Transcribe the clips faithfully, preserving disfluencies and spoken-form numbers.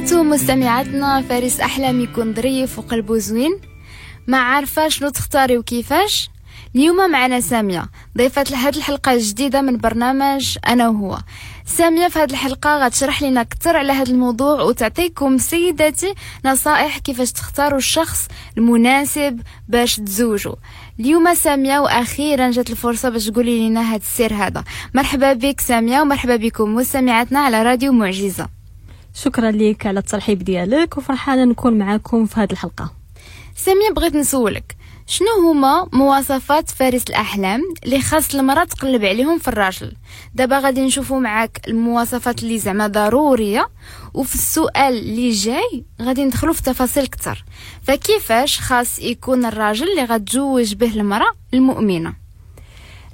بغيتو مستمعاتنا فارس أحلام يكون ظريف وقلبه زوين؟ ما عارفة شنو تختاري وكيفاش؟ اليوم معنا سامية ضيفة لهاد الحلقة الجديدة من برنامج أنا وهو. سامية في هاد الحلقة غتشرح لنا أكثر على هاد الموضوع وتعطيكم سيداتي نصائح كيفاش تختاروا الشخص المناسب باش تزوجوا. اليوم سامية وأخيرا جات الفرصة باش تقولي لنا هاد السر هذا. مرحبا بك سامية ومرحبا بكم مستمعاتنا على راديو معجزة. شكرا لك على الترحيب ديالك وفرحانة نكون معاكم في هذه الحلقة. سامية بغيت نسولك شنو هما مواصفات فارس الأحلام اللي خاص المرأة تقلب عليهم في الراجل؟ دابا غادي نشوفوا معاك المواصفات اللي زعما ضرورية، وفي السؤال اللي جاي غادي ندخلوا في تفاصيل أكثر. فكيفاش خاص يكون الراجل اللي غتزوج به المرأة المؤمنة؟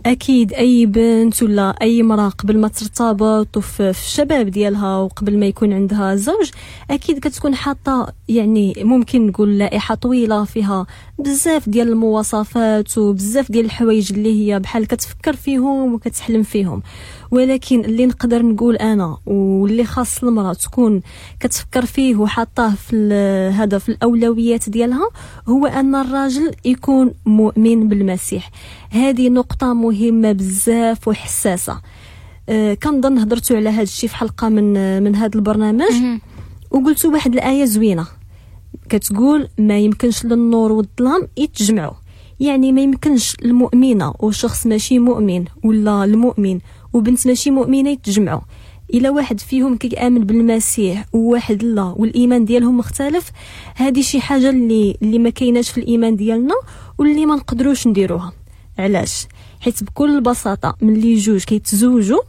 اكيد اي بنت ولا اي امراة قبل ما ترتبط وفي الشباب ديالها وقبل ما يكون عندها زوج اكيد كتكون حاطه يعني ممكن نقول لائحة طويلة فيها بزاف ديال المواصفات وبزاف ديال الحوايج اللي هي بحال كتفكر فيهم وكتحلم فيهم. ولكن اللي نقدر نقول انا واللي خاص المراة تكون كتفكر فيه وحاطاه في هذا في الاولويات ديالها هو ان الراجل يكون مؤمن بالمسيح. هذه نقطة مهمة بزاف وحساسه. أه كنظن هضرتوا على هذا الشيء في حلقة من من هذا البرنامج وقلتوا واحد الايه زوينة كتقول ما يمكنش للنور والظلام يتجمعوا. يعني ما يمكنش المؤمنة وشخص ماشي مؤمن ولا المؤمن وبنت ماشي مؤمنة يتجمعوا. الا واحد فيهم كيامن بالمسيح وواحد لا والايمان ديالهم مختلف، هذه شي حاجة اللي اللي ما كايناش في الايمان ديالنا واللي ما نقدروش نديروها. علاش؟ حيت بكل بساطة ملي جوج كيتزوجوا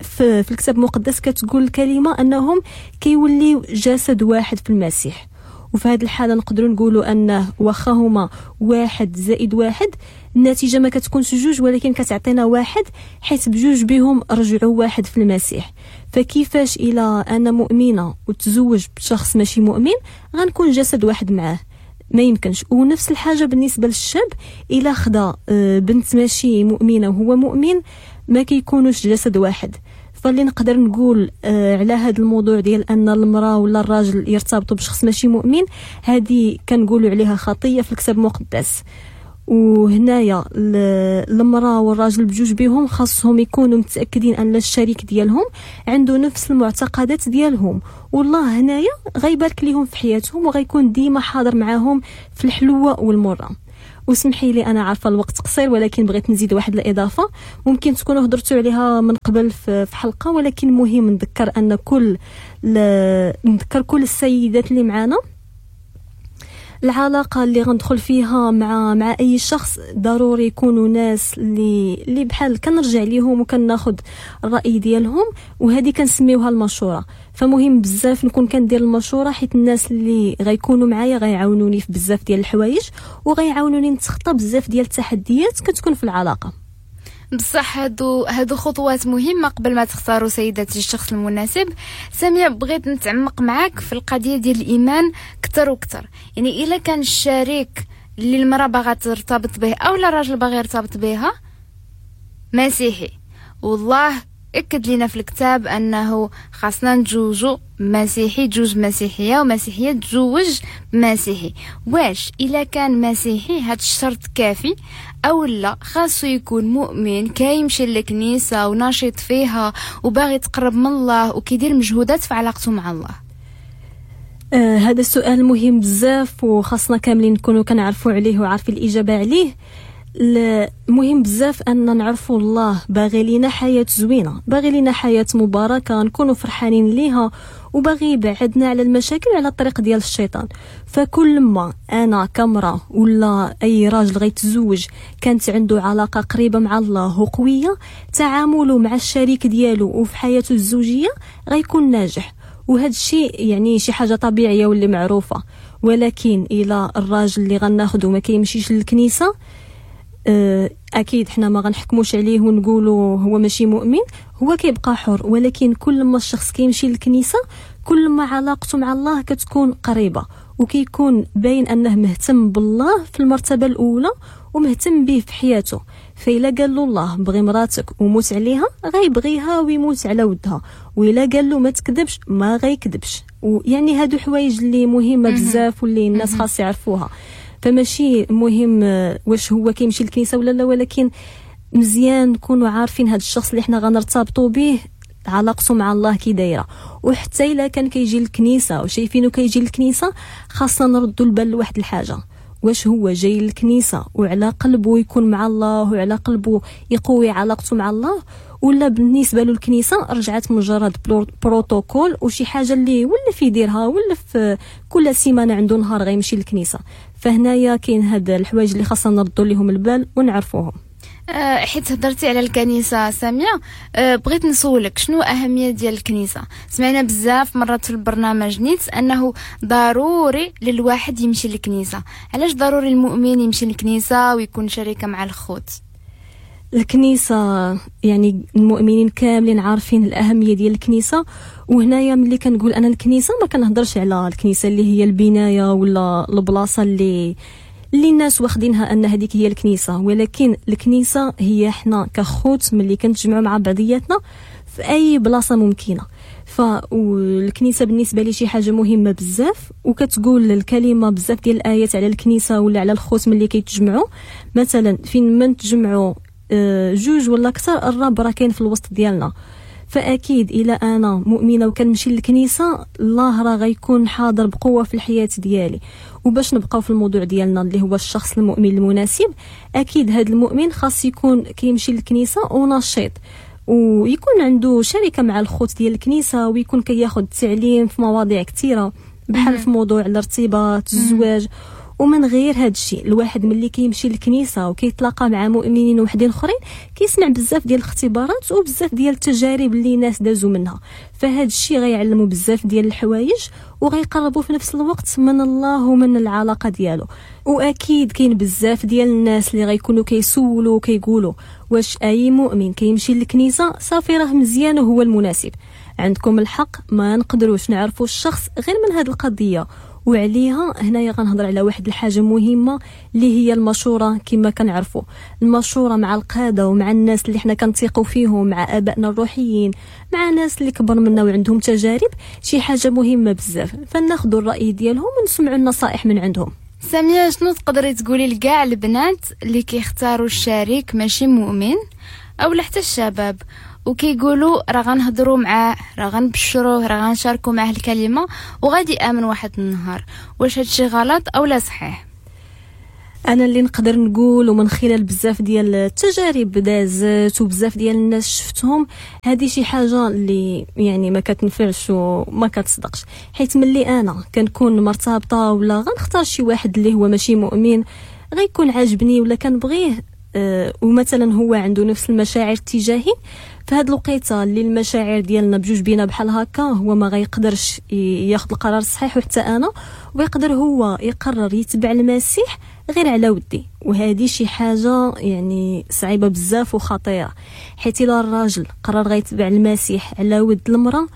في, في الكتاب المقدس كتقول الكلمة انهم كيوليو جسد واحد في المسيح. وفي هذه الحالة نقدروا نقولوا انه واخا هما واحد زائد واحد النتيجة ما كتكونش جوج ولكن كتعطينا واحد، حيت بجوج بهم رجعوا واحد في المسيح. فكيفاش الى انا مؤمنة وتزوج بشخص ماشي مؤمن غنكون جسد واحد معاه؟ ما يمكنش. ونفس الحاجة بالنسبة للشاب، الى خدا بنت ماشي مؤمنة وهو مؤمن ما كيكونوش جسد واحد. فاللي نقدر نقول على هذا الموضوع ديال ان المراة ولا الراجل يرتبطوا بشخص ماشي مؤمن، هذه كنقولوا عليها خطيه في الكتاب المقدس. وهنايا المراة والراجل بجوج بهم خاصهم يكونوا متاكدين ان الشريك ديالهم عنده نفس المعتقدات ديالهم، والله هنايا غيبارك ليهم في حياتهم وغيكون ديما حاضر معاهم في الحلوة والمرة. وسمحي لي انا عارفه الوقت قصير ولكن بغيت نزيد واحد الاضافة ممكن تكونوا هضرتوا عليها من قبل في حلقة، ولكن مهم نذكر ان كل نذكر كل السيدات اللي معانا العلاقة اللي غندخل فيها مع مع اي شخص ضروري يكونوا ناس اللي اللي بحال كنرجع ليهم وكناخذ الراي ديالهم، وهذه كنسميوها المشورة. فمهم بزاف نكون كندير المشورة حيت الناس اللي غيكونوا معايا غيعاونوني في بزاف ديال الحوايج وغيعاونوني نتخطى بزاف ديال التحديات كتكون في العلاقة. بصح هادو هادو خطوات مهمة قبل ما تختاروا سيداتي الشخص المناسب. سامية بغيت نتعمق معاك في القضية ديال الايمان اكثر واكثر. يعني الا كان الشريك اللي المراة باغا ترتبط به او لا الراجل باغي يرتبط بها مسيحي، والله اكد لنا في الكتاب انه خاصنا نتزوجوا مسيحي تجوز مسيحية ومسيحيه تزوج مسيحي. واش الا كان مسيحي هاد الشرط كافي او لا خاصو يكون مؤمن كيمشي للكنيسة وناشط فيها وباغي يتقرب من الله وكيدير مجهودات في علاقته مع الله؟ آه هذا السؤال مهم بزاف وخاصنا كاملين نكونوا كنعرفوا عليه وعارفين الاجابة عليه. مهم بزاف ان نعرفوا الله باغي لينا حياة زوينة، باغي لينا حياة مباركة نكونوا فرحانين ليها، وباغي يبعدنا على المشاكل وعلى الطريق ديال الشيطان. فكل ما انا كمراه ولا اي راجل غيتزوج كانت عنده علاقة قريبه مع الله وقويه، تعامله مع الشريك ديالو وفي حياته الزوجية غيكون ناجح. وهذا الشيء يعني شي حاجة طبيعية واللي معروفة. ولكن الى الراجل اللي غناخذو ما كيمشيش للكنيسة، اكيد حنا ما غنحكموش عليه ونقولوا هو ماشي مؤمن، هو كيبقى حر. ولكن كل ما الشخص كيمشي للكنيسة كل ما علاقته مع الله كتكون قريبه، وكيكون باين انه مهتم بالله في المرتبة الاولى ومهتم به في حياته. فإلا قال له الله بغي مراتك وموت عليها غيبغيها ويموت على ودها، وإلا قال له ما تكذبش ما غيكذبش. ويعني هادو حوايج اللي مهمة بزاف واللي الناس خاص يعرفوها. فماشي مهم واش هو كيمشي للكنيسة ولا لا، ولكن مزيان نكونوا عارفين هذا الشخص اللي حنا غنرتبطوا به علاقته مع الله كي دايرة. وحتى الا كان كيجي للكنيسة وشايفينه كيجي للكنيسة، خاصنا نردوا البال لواحد الحاجة، واش هو جاي للكنيسة وعلى قلبه يكون مع الله وعلى قلبه يقوي علاقته مع الله، ولا بالنسبة له الكنيسة رجعت مجرد بروتوكول وشي حاجة اللي ولا في يديرها ولا في كل سيمانه عنده نهار غيمشي للكنيسة. فهنايا كاين هاد الحوايج اللي خاصنا نردوا لهم البال ونعرفوهم. حيت هضرتي على الكنيسة سامية، بغيت نسولك شنو أهمية ديال الكنيسة؟ سمعنا بزاف مرات في البرنامج نيت أنه ضروري للواحد يمشي للكنيسة. علاش ضروري المؤمن يمشي للكنيسة ويكون شريكة مع الخوت؟ الكنيسة يعني المؤمنين كاملين عارفين الأهمية ديال الكنيسة. وهنايا ملي كنقول أنا الكنيسة ما كنهضرش على الكنيسة اللي هي البناية ولا البلاصة اللي اللي الناس واخدينها ان هذيك هي الكنيسة، ولكن الكنيسة هي حنا كخوت ملي كنتجمعوا مع بعضياتنا في اي بلاصة ممكنة. فالكنيسه بالنسبة لي شي حاجة مهمة بزاف، وكتقول الكلمة بزاف ديال الايات على الكنيسة ولا على الخوت ملي كيتجمعوا. مثلا فين ما نتجمعوا جوج ولا اكثر، الرب راه كاين في الوسط ديالنا. فاكيد الى انا مؤمنة وكنمشي للكنيسة، الله راه غيكون حاضر بقوة في الحياة ديالي. وباش نبقاو في الموضوع ديالنا اللي هو الشخص المؤمن المناسب، اكيد هذا المؤمن خاص يكون كيمشي للكنيسة ونشيط، ويكون عنده شركة مع الخوت ديال الكنيسة، ويكون كياخذ التعليم في مواضيع كثيرة بحال في موضوع الارتباط، الزواج. ومن غير هذا الشيء، الواحد ملي كيمشي للكنيسة وكيتلاقى مع مؤمنين وحدين اخرين كيسمع بزاف ديال الاختبارات وبزاف ديال التجارب اللي ناس دازوا منها. فهذا الشيء غيعلموا بزاف ديال الحوايج وغيقربوا في نفس الوقت من الله ومن العلاقة ديالو. واكيد كاين بزاف ديال الناس اللي غيكونوا كيسولوا وكيقولوا واش اي مؤمن كيمشي للكنيسة صافي راه مزيان وهو المناسب. عندكم الحق، ما نقدروش نعرفوا الشخص غير من هذه القضية. وعليها هنايا غنهضر على واحد الحاجة مهمة اللي هي المشورة. كما كنعرفوا المشورة مع القادة ومع الناس اللي حنا كنثيقوا فيهم، مع ابائنا الروحيين، مع ناس اللي كبر منا وعندهم تجارب، شي حاجة مهمة بزاف. فناخذوا الراي ديالهم ونسمعوا النصائح من عندهم. سامية، شنو تقدري تقولي لكاع البنات اللي كيختاروا الشريك ماشي مؤمن او حتى الشباب وكيقولوا راه غنهضروا معاه، راه غنبشروه، راه غنشاركوا معاه الكلمة وغادي يامن واحد النهار، واش هادشي غلط او لا صحيح؟ انا اللي نقدر نقول ومن خلال بزاف ديال التجارب دازت وبزاف ديال الناس شفتهم، هذه شي حاجة اللي يعني ما كتنفعش وما كتصدقش. حيت ملي انا كنكون مرتبطة ولا غنختار شي واحد اللي هو ماشي مؤمن، غيكون عاجبني ولا كنبغيه، أه ومثلا هو عنده نفس المشاعر تجاهي، فهاد الوقيته اللي المشاعر ديالنا بجوج بينا بحال هكا، هو ما غيقدرش ياخذ القرار الصحيح وحتى انا، ويقدر هو يقرر يتبع المسيح غير على ودي. وهذه شي حاجة يعني صعيبة بزاف وخطيرة، حيت الا الراجل قرر غيتبع المسيح على ود المراة،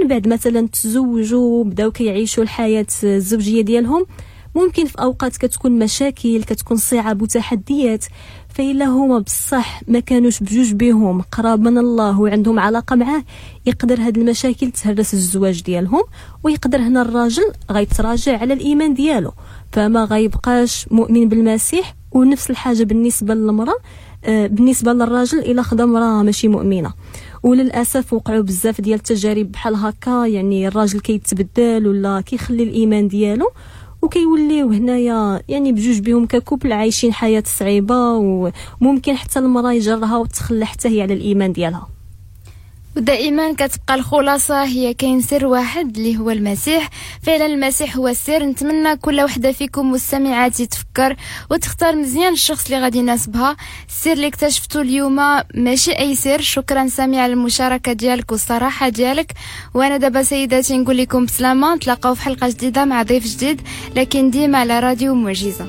من بعد مثلا تزوجوا وبداو كيعيشوا الحياة الزوجية ديالهم، ممكن في اوقات كتكون مشاكل، كتكون صعاب وتحديات. فإلا هما بصح ما كانوش بجوج بهم قراب من الله وعندهم علاقة معاه، يقدر هاد المشاكل تهرس الزواج ديالهم، ويقدر هنا الراجل غيتراجع على الإيمان ديالو، فما غيبقاش مؤمن بالمسيح. ونفس الحاجة بالنسبة للمرأة، بالنسبة للراجل إلا خدا امرأة ماشي مؤمنة. وللأسف وقعوا بزاف ديال التجارب بحال هكا، يعني الراجل كيتبدل ولا كيخلي الإيمان ديالو، وكيوليو هنايا يعني بجوج بهم ك couple عايشين حياة صعيبة، وممكن حتى المراة يجرها وتخلى حتى هي على الايمان ديالها. ودائما كتبقى الخلاصة هي كاين سر واحد اللي هو المسيح. فعلا المسيح هو السر. نتمنى كل وحده فيكم مستمعات تفكر وتختار مزيان الشخص اللي غادي يناسبها. السر اللي اكتشفته اليوم ماشي اي سر. شكرا سامي على المشاركة ديالك والصراحة ديالك. وانا دابا سيداتي نقول لكم بسلامه، نتلاقاو في حلقة جديدة مع ضيف جديد، لكن ديما على راديو معجزه.